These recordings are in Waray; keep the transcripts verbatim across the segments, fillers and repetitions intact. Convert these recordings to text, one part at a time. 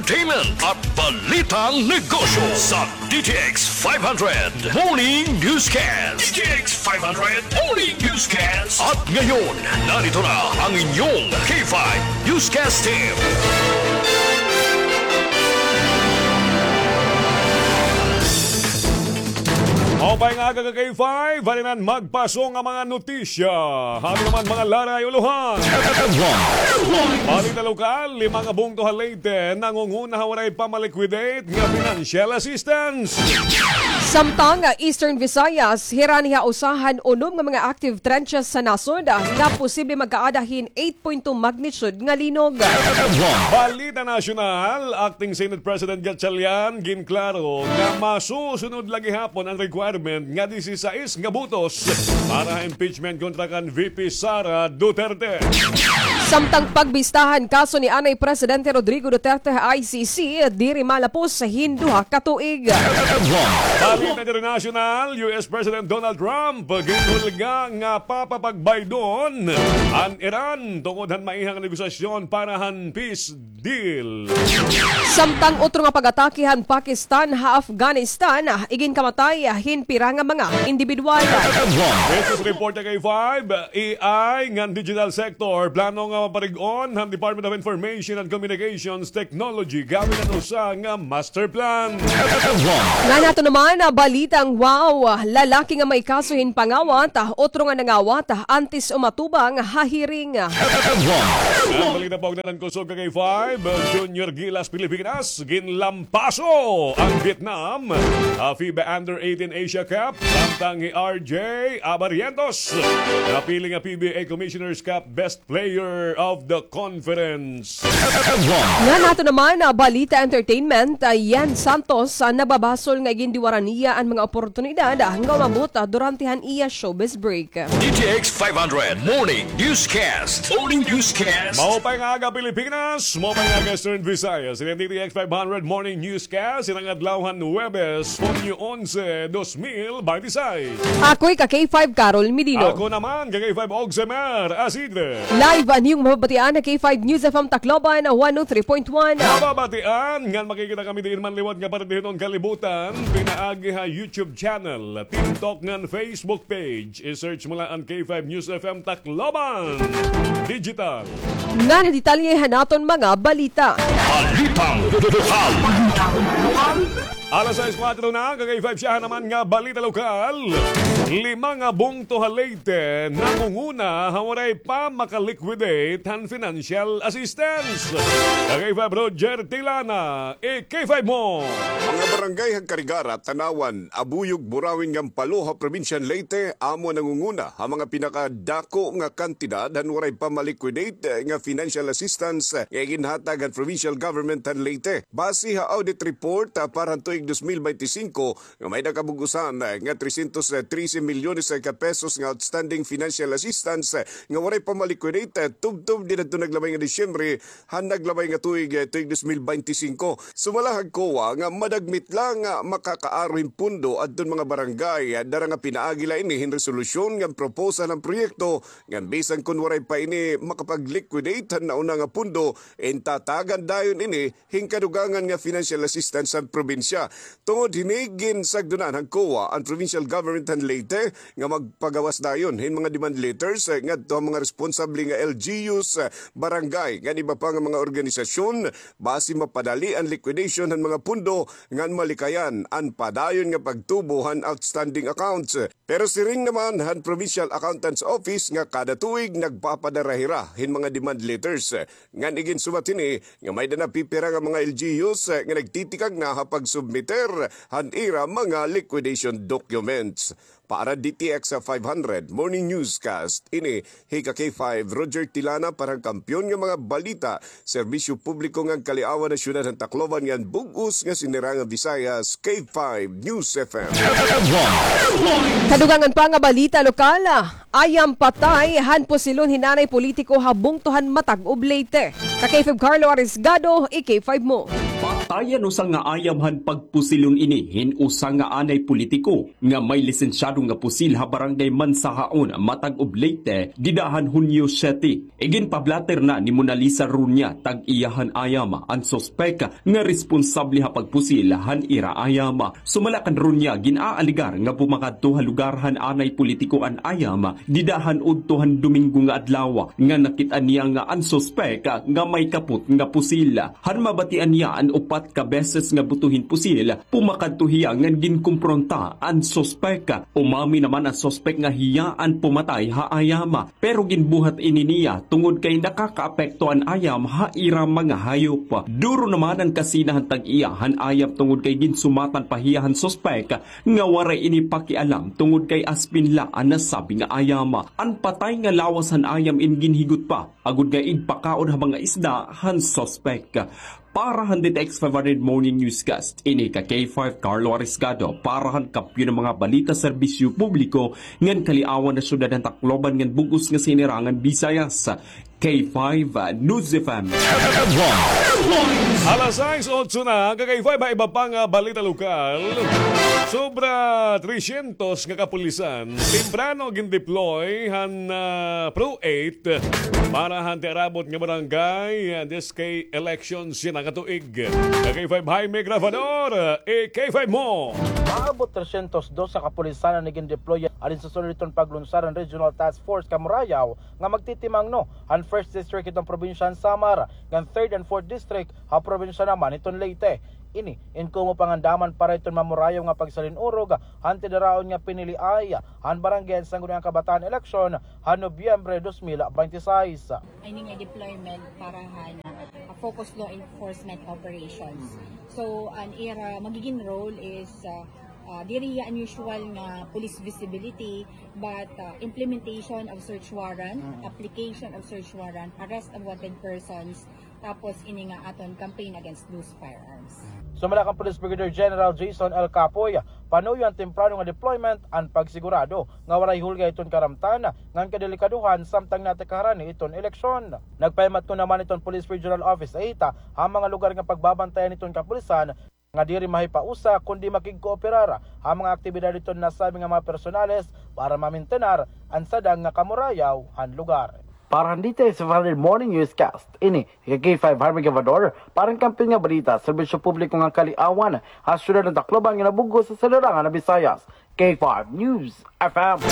entertainment at balitang negosyo sa D T X five hundred Morning Newscast. D T X five hundred Morning Newscast. At ngayon, narito na ang inyong K five Newscast Team. Maupay nga aga ka K five, halinan magpaso nga mga notisya. Hali naman mga laray ulohan. Balita lokal, lima nga bungto ha Leyte nangunguna ha waray pa ma-liquidate nga financial assistance. Samtang, ah, Eastern Visayas, hirani ha usa han unom nga mga active trenches sa nasod, ah, nga posible magkaada hin eight point two magnitude nga linog. Balita nasyonal, Acting Senate President Gatchalian ginklaro nga masusunod la gihapon an requirement nga disisais nga botos para ha impeachment kontra kan V P Sara Duterte. Samtang pagbistahan kaso ni anay Presidente Rodrigo Duterte ha I C C, diri malapos hin duha ka tuig. Balita internasyonal, U S President Donald Trump ginhulga nga papapagbaydon an Iran tungod han maihang negosasyon para han peace deal. Samtang utro nga pag-atake han Pakistan ha Afghanistan, ah, iginkamatay, ah, hin pira nga mga indibidwal. Business report ha K five, A I ngan digital sector, plano nga maparig-on han Department of Information and Communications Technology gamit an usa nga master plan. Ngan ato naman, ah, balitang wow, ah, lalaki nga may kaso hin pangawat, ah, utro nga nangawat, ah, antes umatubang ha hearing. An balita pa ugnayan han kusog ka K five, Junior Gilas Pilipinas, ginlampaso an Vietnam ha FIBA Under eighteen Asia Cup, samtang hi R J Abarientos napili nga P B A Commissioner's Cup Best Player of the Conference. Ngan ato naman, ah, balita entertainment, ah, Ian Santos, ah, nagbabasol nga igindiwaran niya an mga oportunidad, ah, nga umabot, ah, durante han iya showbiz break. D T X five hundred Morning Newscast. Morning Newscast. Maupay nga aga, Pilipinas. Maupay nga aga, Eastern Visayas. Ini an D T X five hundred Morning Newscast. Ini nga adlaw han Huwebes, Hunyo onse, dos mil binte y seis. Ako hi ka K five Carol Medino. Ako naman, ka K five Ogsemer Asidre. Live an iyong mababatian ha K five News F M Tacloban, one oh three point one. Mababatian ngan makikita kami diin man liwat nga parte hiton kalibutan, pinaagi ha YouTube channel, TikTok ngan Facebook page. I-search mo la an K five News F M Tacloban Digital. Ngan detalye han aton mga balita. Balitang lokal. Alas sais kuwatro na, ka K five, syahan naman nga balita lokal. Lima nga bungto ha Leyte nangunguna ha waray pa maka-liquidate han financial assistance. Ka K five, Roger Tilana, i-K five mo. Mga barangay han Carigara, Tanauan, Abuyog, Burauen ngan Palo ha Probinsya han Leyte amo an nangunguna ha mga pinakadako nga kantidad han waray pa ma-liquidate nga financial assistance nga iginhatag han provincial government han Leyte. Base ha audit report, ah, para han tuig dos mil baynte singko, nga may-ada kabug-osan, ah, nga trescientos trece milyones ka pesos nga outstanding financial assistance, ah, nga waray pa ma-liquidate, ah, tubtob didto naglabay nga Disyembre, han naglabay nga tuig, eh, tuig dos mil baynte singko. Sumala han COA nga madagmit la nga makakaaro hin pondo adton mga barangay, eh, dara nga pinaagi la ini hin resolusyon ngan proposal han proyekto, ngan bisan kon waray pa ini makapag-liquidate han nauna nga pondo, intatagan dayon ini hin kadugangan nga financial assistance han probinsya. Tungod hini, ginsagdonan han COA an provincial government han Leyte nga magpagawas dayon hin mga demand letters, eh, ngadto ha mga responsable nga L G Us, eh, barangay, ngan iba pa nga mga organisasyon, basi mapadali an liquidation han mga pondo ngan malikayan an padayon nga pagtubo han outstanding accounts. Pero siring naman han Provincial Accountant's Office nga kada tuig nagpapadara hira hin mga demand letters. Ngan iginsumat hini nga may-ada na pipira nga mga L G Us nga nagtitikang na ha pagsubmiter han ira mga liquidation documents. Para D T X five hundred Morning Newscast, ini hi ka K five Roger Tilana para han Kampiyon nga mga Balita, Serbisyo Publiko ngan Kaliawan ha Syudad han Tacloban ngan bug-os nga sinirang nga Visayas, K five News F M. Kadugangan pa nga balita lokal, ah, ayam patay han pusilon hin nanay politiko ha bungto han Matagob, Leyte. Ka K five Carlo Arisgado, i-K five mo. Tayan usa nga ayam han pagpusilon ini hin usa nga anay politiko nga may lisensyado nga pusil ha Barangay Mansahaon, Mataguv, Leyte, dida han Hunyo siyete. Iginpablatter na ni Monalisa Runya, tag-iya han ayam, an suspek nga responsable ha pagpusil han ira ayam. Sumala kan Runya, gin-aalegar nga bumakadto ha lugar han anay politiko an ayam dida han udto han Domingo nga adlaw, nga nakit-an niya nga an suspek nga may kapot nga pusil. Han mabatian niya an upat ka beses nga buto hin pusil, pumakadto hiya ngan ginkumpronta an suspek. Umami naman an suspek nga hiya an pumatay ha ayam, pero ginbuhat ini niya tungod kay nakakaapekto an ayam ha ira mga hayop. Duro naman an kasina han tag-iya han ayam tungod kay ginsumatan pa hiya han suspek nga waray ini pakialam tungod kay aspin la an nasabi nga ayam. An patay nga lawas han ayam in ginhigot pa agod nga igpakaon ha mga isda han suspek. Para han D T X five hundred Morning Newscast, ini ka K five Carlo Arisgado, para han Kampiyon nga mga balita, serbisyo publiko, ngan kaliawan ha syudad han Tacloban ngan bug-os nga sinirangan Visayas, K five News F M. Alas sais otso na, ka K five, ha iba pa nga balita lokal. Sobra tresyentos nga kapulisan temprano gin-deploy han, ah, Pro eight para han tiarabot nga barangay, ah, D S K elections yana nga tuig. Ka K five Jaime Grabador, i K five mo. Maabot tresyentos dos nga kapulisan an igin-deploy halin sa sulod hiton paglunsad han Regional Task Force Kamurayaw nga magtitimangno han First District hiton probinsya han Samar, ngan Third and Fourth District ha probinsya naman hiton Leyte. Ini in komo pangandaman para hiton mamurayaw nga pagsalin-urog han tidaraon nga piniliay han Barangay han Sangguniang Kabataan eleksyon han Nobyembre dos mil binte sais. Ini nga deployment para han, ah, focus law enforcement operations. So, an ira magiging role is, ah, ah, diri hiya unusual nga police visibility, but, ah, implementation of search warrant, application of search warrant, arrest of wanted persons, tapos ini nga aton campaign against loose firearms. Sumala kan Police Brigadier General Jason L Capoy, panuyo an temprano nga deployment an pagsigurado nga waray hulga hiton karamtan ngan kadelikadohan samtang nata kaharani hiton eleksyon. Nagpahimatngon naman hiton Police Regional Office eight ha mga lugar nga pagbabantayan hiton kapulisan nga diri mahipausa kundi makigkooperar ha mga aktibidad hiton nasabi nga mga personales para mamintenar an sadang nga kamurayaw han lugar. Para han D T X five hundred Morning Newscast, ini hi K five Harvey Gavador, para han Kampiyon nga Balita, serbisyo publiko ngan kaliawan ha syudad han Tacloban ngan ha bug-os nga sinirangan han Visayas, K five News F M.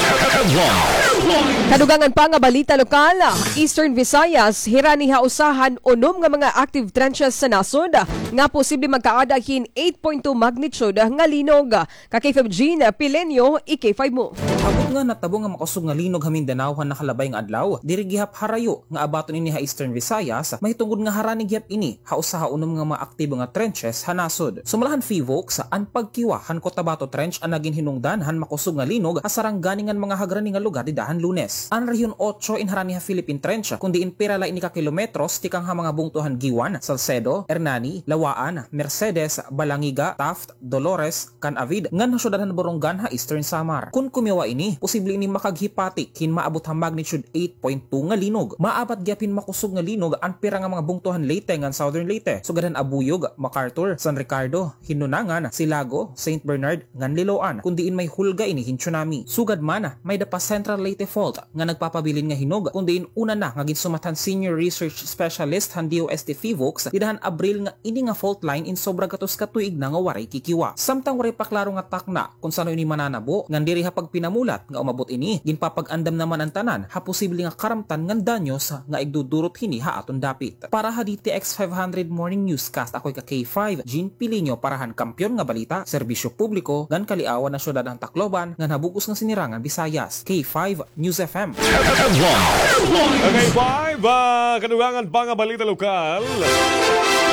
Kadugangan pa nga balita lokal, Eastern Visayas, hirani ha usa han unom nga mga active trenches sa nasod nga posible magkaada hin eight point two magnitude nga linog. Ka K five Jean Pileño, i K five mo. Abot nga natabo nga makusog nga linog ha Mindanao han nakalabay nga adlaw, diri gihap harayo nga abaton ini ha Eastern Visayas, mahitungod nga harani gihap ini ha usa ha unom nga mga aktibo nga trenches ha nasod. Sumala han PHIVOLCS, an pagkiwa han Cotabato Trench an nagin hinungdan han makusog nga linog ha sarangani ngan mga hagrani nga lugar dida han Lunes. An Rehiyon Otso in harani ha Philippine Trench, kun diin pira la ini ka kilometros tikang ha mga bungto han Guiuan, Salcedo, Hernani, Lawaan, Mercedes, Balangiga, Taft, Dolores, kan Avid, ngan ha syudad han Borongan ha Eastern Samar. Kun kumiwa ini, posible ini makaghipatik hin maabot ha magnitude eight point two nga linog. Maabat gihap hin makusog nga linog an pira nga mga bungto han Leyte ngan Southern Leyte, sugad han Abuyog, MacArthur, San Ricardo, Hinunangan, Silago, Saint Bernard, ngan Liloan, kun diin may hulga ini hin tsunami. Sugad man, may-ada pa Central Leyte Fault nga nagpapabilin nga hinog, kun diin una na nga ginsumat han senior research specialist han D O S T PHIVOLCS dida han Abril nga ini nga fault line in sobra gatos ka tuig na nga waray kikiwa. Samtang waray pa klaro nga takna kun san-o ini mananabo, ngan diri ha pagpinamulat nga umabot ini, ginpapag-andam naman an tanan ha posible nga karamtan ngan danyos nga igdudurot hini ha aton dapit. Para ha D T X five hundred Morning Newscast, ako hi ka K five, Jean Pilinho, para han Kampiyon nga Balita, serbisyo publiko, ngan kaliawan ha syudad han Tacloban, ngan ha bug-os nga sinirangan Visayas. K five News F M. K five, ah, kadugangan pa nga balita lokal.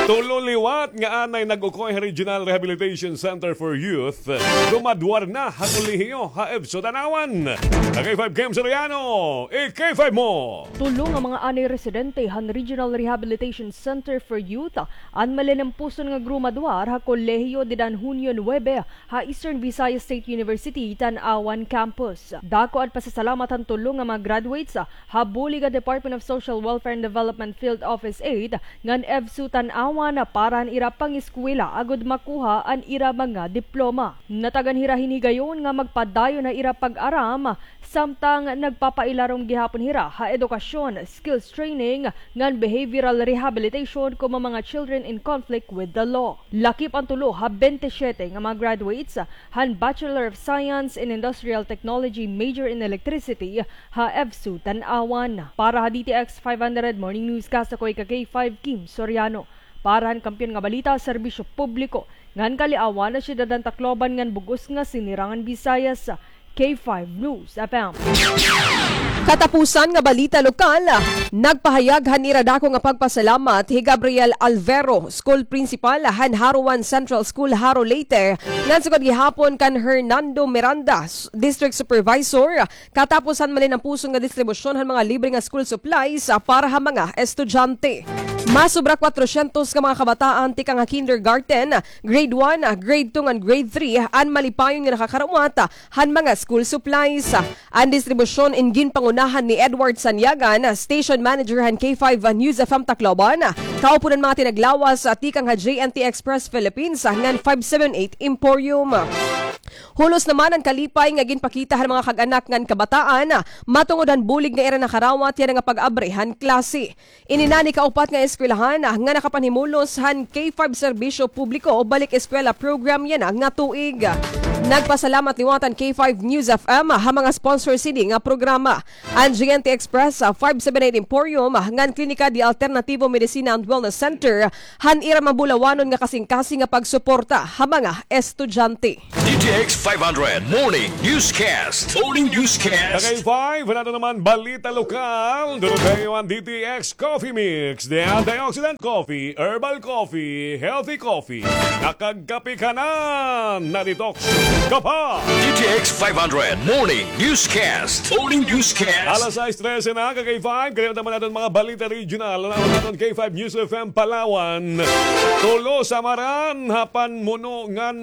Tulo liwat nga anay nag-ukoy ha Regional Rehabilitation Center for Youth, grumaduar na ha kolehiyo ha EVSU Tanauan. K five Kim Soriano, i K five mo. Tulo nga mga anay residente han Regional Rehabilitation Center for Youth an malinampuson nga grumaduar ha kolehiyo dida han Hunyo nuebe ha Eastern Visayas State University, Tanauan Campus. Dako an pasasalamat han tulo nga mga graduates ha bulig han Department of Social Welfare and Development Field Office eight ngan EVSU Tanauan. Wana para han ira pangeskwela agod makuha an ira mga diploma. Natagan hira hin higayon nga magpadayon ha ira pag-aram, samtang nagpapailarom gihapon hira ha edukasyon, skills training, ngan behavioral rehabilitation komo mga children in conflict with the law. Lakip an tulo ha bente siyete nga mga graduates han Bachelor of Science in Industrial Technology, major in Electricity, ha EVSU Tanauan. Para ha D T X five hundred Morning Newscast, ako ika K five Kim Soriano. Para han Kampiyon nga Balita, Serbisyo Publiko, ngan Kaliawan ha Syudad han Tacloban ngan bug-os nga Sinirangan Visayas, K five News F M. Katapusan nga balita lokal, nagpahayag han ira dako nga pagpasalamat hi Gabriel Alvero, school principal han Jaro One Central School, Jaro, Leyte, ngan sugad gihapon kan Hernando Miranda, s-, district supervisor, katapos han malinampuson nga distribusyon han mga libre nga school supplies, ah, para ha mga estudyante. Masobra kwatrosyentos nga mga kabataan tikang ha kindergarten, grade one, grade two, ngan grade three an malipayon nga nakakarawat han mga school supplies. An distribusyon in ginpangunahan ni Edward Sanyagan, station manager han K five News F M Tacloban, kaupo han mga tinaglawas tikang ha J N T Express Philippines ngan five seven eight Emporium. Hulos naman an kalipay nga ginpakita han mga kag-anak ngan kabataan matungod han bulig nga ira nakarawat yana nga pag-abri han klase. Ini na an ikaupat nga eskwelahan nga nakapanhimulos han K five Serbisyo Publiko Balik Eskwela Program yana nga tuig. Nagpasalamat liwat an K five News F M ha mga sponsor sini nga programa. An J N T Express, ah, five seven eight Emporium, ah, ngan Klinika de Alternativo Medicina and Wellness Center, han ira mabulawanon nga kasingkasing nga pagsuporta ha mga estudyante. D T X five hundred Morning Newscast. Morning Newscast. Kay five, wala na naman balita lokal. Duro kayo ang D T X Coffee Mix. The antioxidant coffee, herbal coffee, healthy coffee. Nakagkape ka na, na-detox ka pa. D T X five hundred Morning Newscast. Morning Newscast. Alas sais trese na, ka K five. Kaya naman natin mga balita regional. Alam natin K five News F M Palawan. Tulo sa maran, hapan muno ngan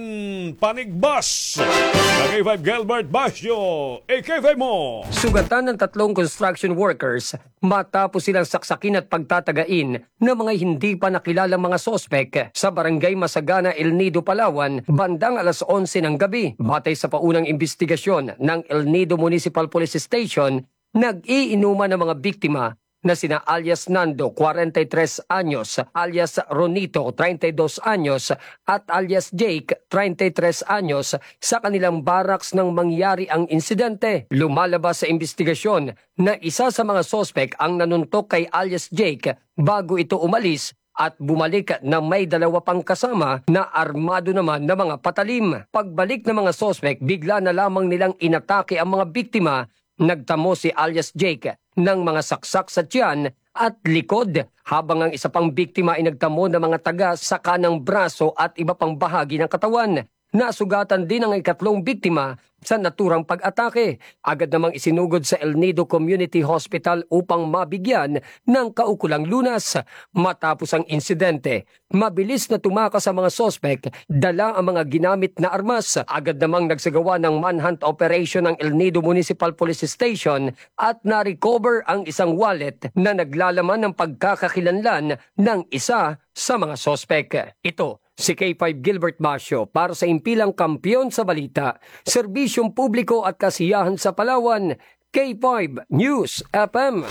panigbas. Ka K five Gilbert Basyo. A K five mo. Sugatan ng tatlong construction workers matapos silang saksakin at pagtatagain ng mga hindi pa nakilalang mga suspek sa Barangay Masagana, El Nido, Palawan, bandang alas onse ng gabi. Batay sa paunang imbestigasyon ng El Nido Municipal Police Station, nag-iinuman ang mga biktima na sina alias Nando, kwarenta y tres anyos, alias Ronito, treinta y dos anyos, at alias Jake, treinta y tres anyos, sa kanilang barracks nang mangyari ang insidente. Lumalabas sa imbestigasyon na isa sa mga suspek ang nanuntok kay alias Jake bago ito umalis at bumalik na may dalawa pang kasama na armado naman na mga patalim. Pagbalik ng mga suspek, bigla na lamang nilang inatake ang mga biktima. Nagtamo si alias Jake ng mga saksak sa tiyan at likod, habang ang isa pang biktima ay nagtamo ng mga taga sa kanang braso at iba pang bahagi ng katawan. Nasugatan din ang ikatlong biktima sa naturang pag-atake. Agad namang isinugod sa El Nido Community Hospital upang mabigyan ng kaukulang lunas. Matapos ang insidente, mabilis na tumakas ang mga suspek, dala ang mga ginamit na armas. Agad namang nagsagawa ng manhunt operation ang El Nido Municipal Police Station at na-recover ang isang wallet na naglalaman ng pagkakakilanlan ng isa sa mga suspek. Ito si K five Gilbert Basyo para sa Impilang Kampiyon sa Balita, Serbisyong Publiko at Kasiyahan sa Palawan, K five News F M.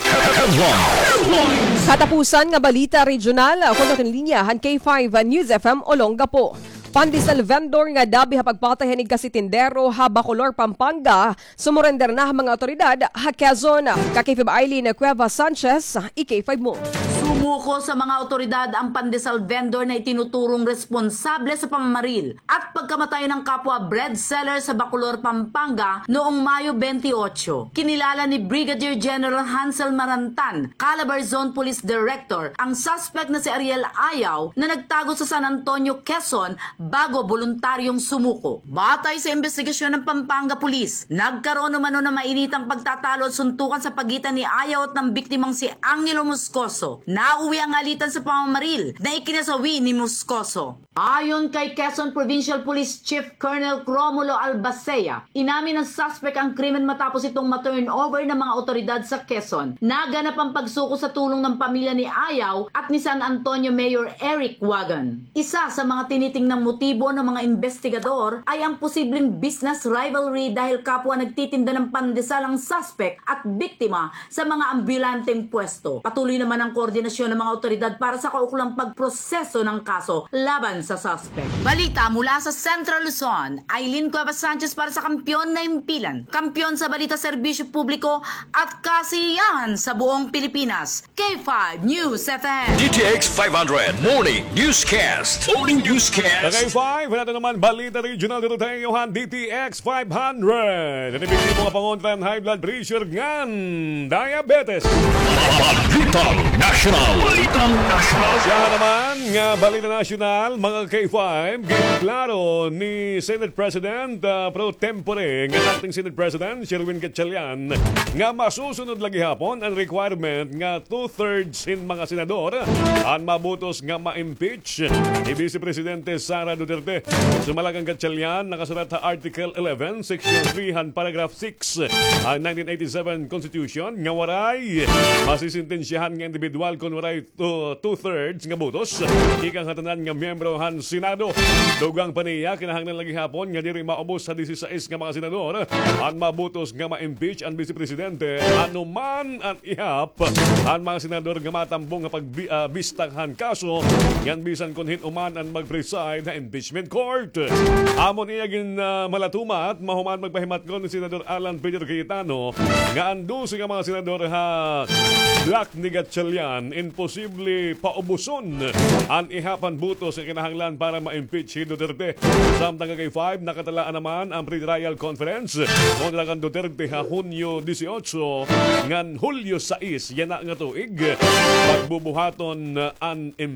Katapusan nga balita regional, kon naton linya han K five News F M Olongapo. Pandesal vendor nga dabi ha pagpatay han igkasi tindero ha Bacolor, Pampanga, sumurender na ha mga awtoridad ha Quezon. Ka K five Eileen Cuevas Sanchez, i K five mo. Sumuko sa mga awtoridad ang pandesal vendor na itinuturong responsable sa pamamaril at pagkamatay ng kapwa bread seller sa Bacolor, Pampanga noong Mayo twenty-eight. Kinilala ni Brigadier General Hansel Marantan, Calabar Zone Police Director, ang suspect na si Ariel Ayaw na nagtago sa San Antonio, Quezon, bago boluntaryong sumuko. Batay sa imbestigasyon ng Pampanga Police, nagkaroon umano ng mainitang pagtatalo at suntukan sa pagitan ni Ayaw at ng biktimang si Angelo Moscoso. Nauwi ang alitan sa pamamaril na ikinasawi ni Moscoso. Ayon kay Quezon Provincial Police Chief Colonel Romulo Albacea, inamin ng suspect ang krimen matapos itong ma-turnover ng mga otoridad sa Quezon. Naganap ang pagsuko sa tulong ng pamilya ni Ayaw at ni San Antonio Mayor Eric Wagan. Isa sa mga tinitingnang motibo ng mga investigador ay ang posibleng business rivalry dahil kapwa nagtitinda ng pandesal ang suspect at biktima sa mga ambulanteng pwesto. Patuloy naman ang koordinasyon ng mga otoridad para sa kaukulang pagproseso ng kaso laban sa suspect. Balita mula sa Central Luzon, Aileen Cuevas Sanchez para sa Kampiyon na Himpilan. Kampiyon sa balita, serbisyo publiko at kasiyahan sa buong Pilipinas. K five News F M. D T X five hundred Morning Newscast. Morning Newscast. Kay five, nato naman balita regional dito tayo, Johan, D T X five hundred. Ano yung mga pangontra ng high blood pressure ngan diabetes? Balitang National. Balitang National. Siya naman nga balita nasyonal, mga K five, ginklaro ni Senate President, ah, pro tempore, nga acting Senate President, Sherwin Gatchalian, nga masusunod la gihapon an requirement nga two-thirds hin mga senador an mabutos nga ma-impeach hi Vice Presidente Sara Duterte. Sumala kan Gatchalian, nakasulat ha Article eleven, Section three han Paragraph six han nineteen eighty-seven Constitution nga waray masisentensyahan nga indibidwal kon waray two, two-thirds nga butos gikan ha tanan nga miyembro han Senado. Dugang pa niya, kinahanglan la gihapon nga diri maubos sa disisais nga mga senador an mabutos nga ma-impeach an Vice Presidente, ano man an ihap han mga senador nga matambong nga pagbi-, ah, bista han kaso, ngan bisan kon hin-o man an mag-preside ha impeachment court. Amo niya gin, ah, malatumat, mahuman magpahimatngon ni Senador Alan Peter Cayetano nga an dose nga mga senador ha bloc ni Gatchalian, imposible paubuson an ihap han butos nga kinahanglan para ma-impeach hi Duterte. Samtang kay five, nakatalaan naman an pretrial conference kontra kan Duterte ha Hunyo dieciocho ngan Hulyo sais yana nga tuig. Pagbubuhaton an impeachment